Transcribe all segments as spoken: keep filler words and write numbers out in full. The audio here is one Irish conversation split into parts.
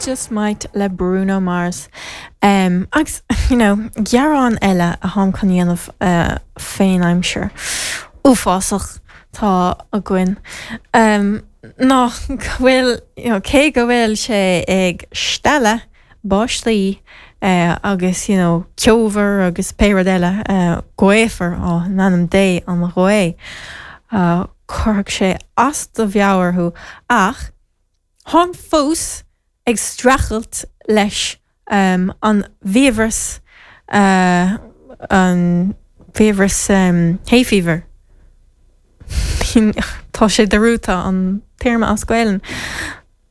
Just Might le Bruno Mars. Um, agus you know, gearán eile atáim chun dhéanamh uh, fén aimsir. Uafásach tá againn. Um, ná go bhfuil you know, cé go bhfuil sé ag stealladh báistí uh, agus you know, ceobhar agus pé rud eile uh, gaofar ó in ainm Dé an ghaoth. Uh, Chuirfeadh sé as do mheabhair thú ach táim fós ag streachailt leis um, an bhfiabhras uh, an fiabhras um, hay fever. Tá sé dearmadta an téarma as Gaeilge.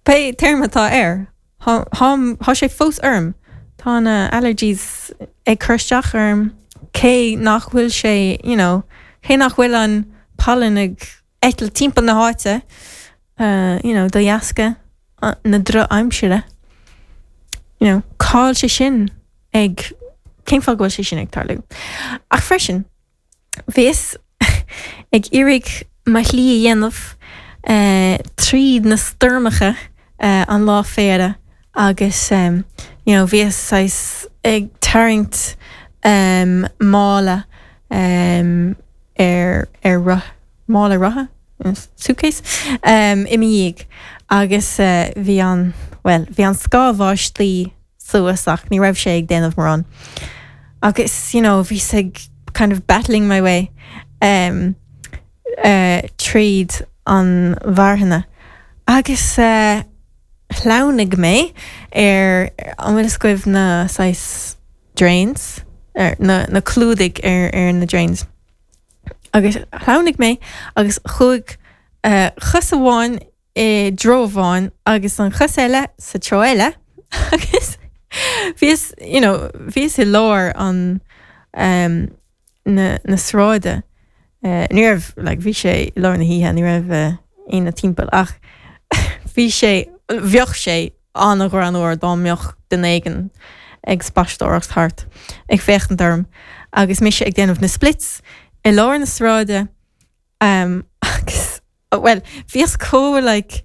Pé téarma atá air Tá sé fós orm Tá na allergies ag cur isteach orm cé nach bhfuil sé you know, cé nach bhfuil an pollen ag eitilt timpeall na háite uh, you know, de dheasca uh, na drochaimsire. You know, cáil sé sin ag cén fáth bhfuil sé sin ag tarlú. Ach freisin, bhíos ag iarraidh mo shlí a dhéanamh uh, tríd na stoirmeacha uh, an lá féile agus um, you know, bhíos ag tarraingt um, mála um, ar ar roth mála rotha suitcase um, i m'dhiaidh agus uh, bhí an well bhí an scáth báistí suas ach ní raibh sé ag déanamh mórán. Agus you know, bhíos ag kind of battling my way um, uh, tríd an mharthainn. Agus uh, shleamhnaigh mé ar an bhfuil scuibh na sais drains ar na, na clúdaigh ar, ar na drains. Agus shleamhnaigh mé agus chuaigh uh, chos amháin i dtreo amháin agus an chos eile sa treo eile agus bhíos you know, bhíos i lár an um, na, na sráide. Uh, ní raibh like, bhí sé i lár na hoíche ní raibh uh, aon timpeall ach bhí sé bheadh sé an-ghreannmhar dá mbeadh duine éigin ag spaisteoireacht thart ag féachaint orm agus mise ag déanamh na splits i lár na sráide um, agus well bhíos chomh like,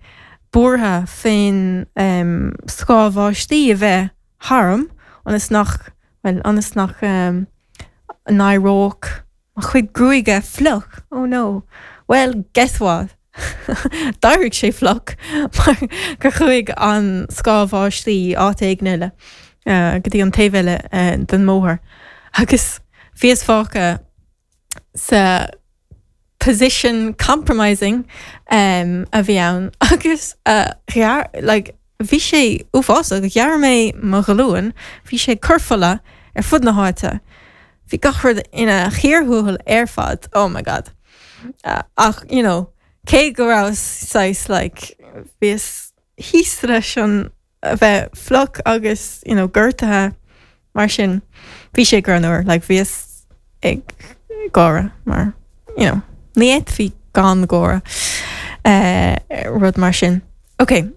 buartha fén um, scáth báistí a bheith tharam ionas nach well ionas nach um, n-éireodh mo chuid gruaige fliuch oh no well guess what D'éirigh sé fliuch mar gur chuaigh an scáth báistí áit éigin eile uh, go dtí an taobh eile uh, den mbóthar agus bhíos fágtha sa position compromising um, a bhí ann agus uh, ghearr like, bhí sé uafásach ghearr mé mo ghlúin, bhí sé cur fola ar fud na háite. Bhí gach rud ina chíor thuathail ar fad oh my god. Uh, ach you know, cé go raibh sais like, bhíos thíos leis an a bheith fliuch agus you know, gortaithe mar sin bhí sé greannmhar like, bhíos ag gáire mar you know, ní fhéadfaí gan gáire uh, rud mar sin. Ok,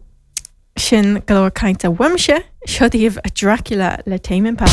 sin go leor cainte uaimse seo daoibh a Dracula le Tame Impala.